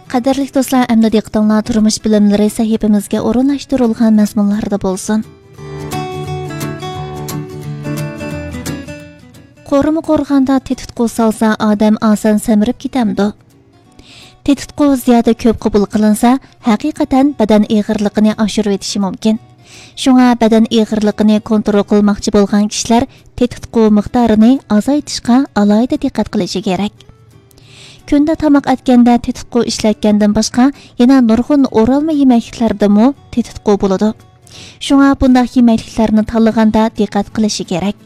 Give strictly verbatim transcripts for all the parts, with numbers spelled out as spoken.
قەدىرلىك دوستلار، ئەمدى دىققىتىڭلار تۇرمۇش بىلىملىرى سەھىپىمىزگە ئورۇنلاشتۇرۇلغان مەزمۇنلاردا بولسۇن. قورۇما قورغاندا تېتىتقۇ سالسا، ئادەم ئاسان سەمرىپ كېتەمدۇ؟ تېتىتقۇ زىيادە كۆپ قوبۇل قىلىنسا، ھەقىقەتەن بەدەن ئېغىرلىقىنى ئاشۇرۇۋېتىشى مۇمكىن. شۇڭا بەدەن ئېغىرلىقىنى كونترول قىلماقچى بولغان كىشىلەر تېتىتقۇ مىقدارىنى ئازايتىشقا ئالاھىدە دىققەت قىلىشى كېرەك. كۈندە تاماق ئەتكەندە تېتىتقۇ ئىشلەتكەندىن باشقا، يەنە نۇرغۇن ئورالما يېمەكلىكلەردىمۇ تېتىتقۇ بولىدۇ. شۇڭا بۇنداق يېمەكلىكلەرنى تاللىغاندا دىققەت قىلىشى كېرەك.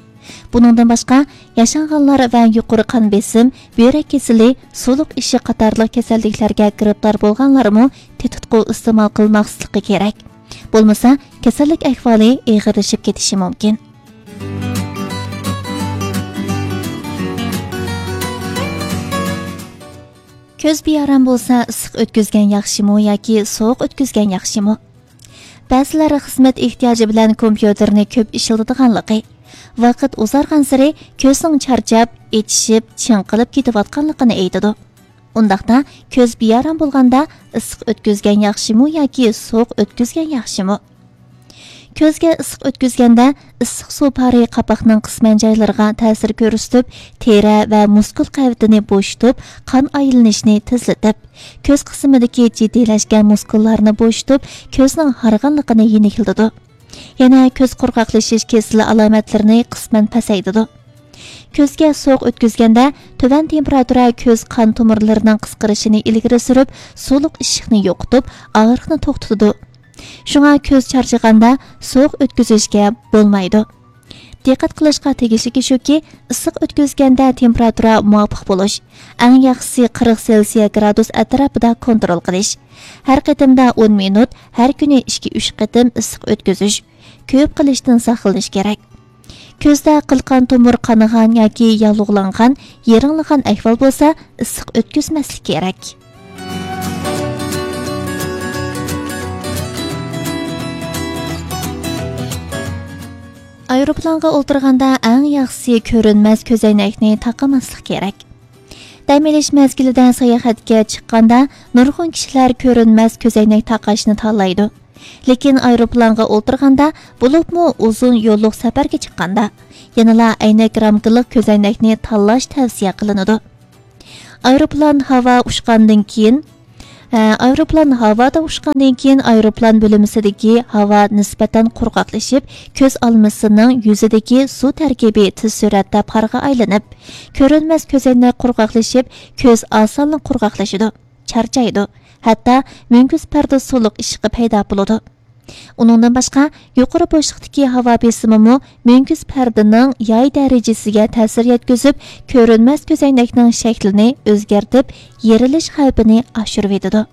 بۇنىڭدىن باشقا، ياشانغانلار ۋە يۇقىرى قان بېسىم، بۆرەك كېسىلى، سۇلۇق ئىششىق قاتارلىق كېسەللىكلەرگە گىرىپتار بولغانلارمۇ تېتىتقۇ ئىستېمال قىلماسلىقى كېرەك. بولمىسا، كېسەللىك ئەھۋالى ئېغىرلىشىپ كېتىشى مۇمكىن. كۆز بىئارام بولسا، ئىسسىق ئۆتكۈزگەن ياخشىمۇ ياكى سوغۇق ئۆتكۈزگەن ياخشىمۇ؟ بەزىلەر خىزمەت ئېھتىياجى بىلەن كومپيۇتېرنى كۆپ ئىشلىتىدىغانلىقى، ۋاقىت ئۇزارغانسېرى كۆزنىڭ چارچاپ، ئېچىشىپ، چىڭقىلىپ كېتىۋاتقانلىقىنى ئېيتىدۇ. ئۇنداقتا، كۆز بىئارام بولغاندا ئىسسىق ئۆتكۈزگەن ياخشىمۇ ياكى سوغۇق ئۆتكۈزگەن ياخشىمۇ؟ كۆزگە ئىسسىق ئۆتكۈزگەندە، ئىسسىق سۇ پارى قاپاقنىڭ قىسمەن جايلىرىغا تەسىر كۆرسىتىپ، تېرە ۋە مۇسكۇل قەۋىتىنى بوشىتىپ، قان ئايلىنىشنى تېزلىتىپ، كۆز قىسمىدىكى جىددىيلەشكەن مۇسكۇللارنى بوشىتىپ، كۆزنىڭ ھارغىنلىقىنى يېنىكلىتىدۇ. يەنە كۆز قۇرغاقلىشىش كېسىلى ئالامەتلىرىنى قىسمەن پەسەيتىدۇ. كۆزگە سوغۇق ئۆتكۈزگەندە، تۆۋەن تېمپېراتۇرا كۆز قان تومۇرلىرىنىڭ قىسقىرىشىنى ئىلگىرى سۈرۈپ، سۇلۇق ئىششىقنى يوقىتىپ، ئاغرىقنى توختىتىدۇ. شۇڭا كۆز چارچىغاندا سوغۇق ئۆتكۈزۈشكە بولمايدۇ. دىققەت قىلىشقا تېگىشلىكى شۇكى، ئىسسىق ئۆتكۈزگەندە تېمپېراتۇرا مۇۋاپىق بولۇش، ئەڭ ياخشىسى قىرىق سېلسىيە گرادۇس ئەتراپىدا كونترول قىلىش. ھەر قېتىمدا ئون مىنۇت، ھەر كۈنى ئىككى ئۈچ قېتىم ئىسسىق ئۆتكۈزۈش. كۆپ قىلىشتىن ساقلىنىش كېرەك. كۆزدە قىلقان تومۇر قانىغان ياكى ياللۇغلانغان، يىرىڭلىغان ئەھۋال بولسا، ئىسسىق ئۆتكۈزمەسلىك كېرەك. ئايروپىلانغا ئولتۇرغاندا ئەڭ ياخشىسى كۆرۈنمەس كۆزەينەكنى تاقىماسلىق كېرەك. دەم ئېلىش مەزگىلىدە ساياھەتكە چىققاندا، نۇرغۇن كىشىلەر كۆرۈنمەس كۆزەينەك تاقاشنى تاللايدۇ. لېكىن ئايروپىلانغا ئولتۇرغاندا، بولۇپمۇ ئۇزۇن يوللۇق سەپەرگە چىققاندا، يەنىلا ئەينەك رامكىلىق كۆزەينەكنى تاللاش تەۋسىيە قىلىنىدۇ. ئايروپىلان ھاۋا ئۇچقاندىن كېيىن، ئە، ئايروپىلان ھاۋادا ئۇچقاندىن كېيىن، ئايروپىلان بۆلمىسىدىكى ھاۋا نىسبەتەن قۇرغاقلىشىپ، كۆز ئالمىسىنىڭ يۈزىدىكى سۇ تەركىبى تېز سۈرئەتتە پارغا ئايلىنىپ، كۆرۈنمەس كۆزەينەك قۇرغاقلىشىپ، كۆز ئاسانلا قۇرغاقلىشىدۇ، چارچايدۇ، ھەتتا مۈڭگۈز پەردە سۇلۇق ئىششىقى پەيدا بولىدۇ. ئۇنىڭدىن باشقا، يۇقىرى بوشلۇقتىكى ھاۋا بېسىمىمۇ مۈڭگۈز پەردىنىڭ ياي دەرىجىسىگە تەسىر يەتكۈزۈپ، كۆرۈنمەس كۆزەينەكنىڭ شەكلىنى ئۆزگەرتىپ، يېرىلىش خەۋپىنى ئاشۇرۇۋېتىدۇ.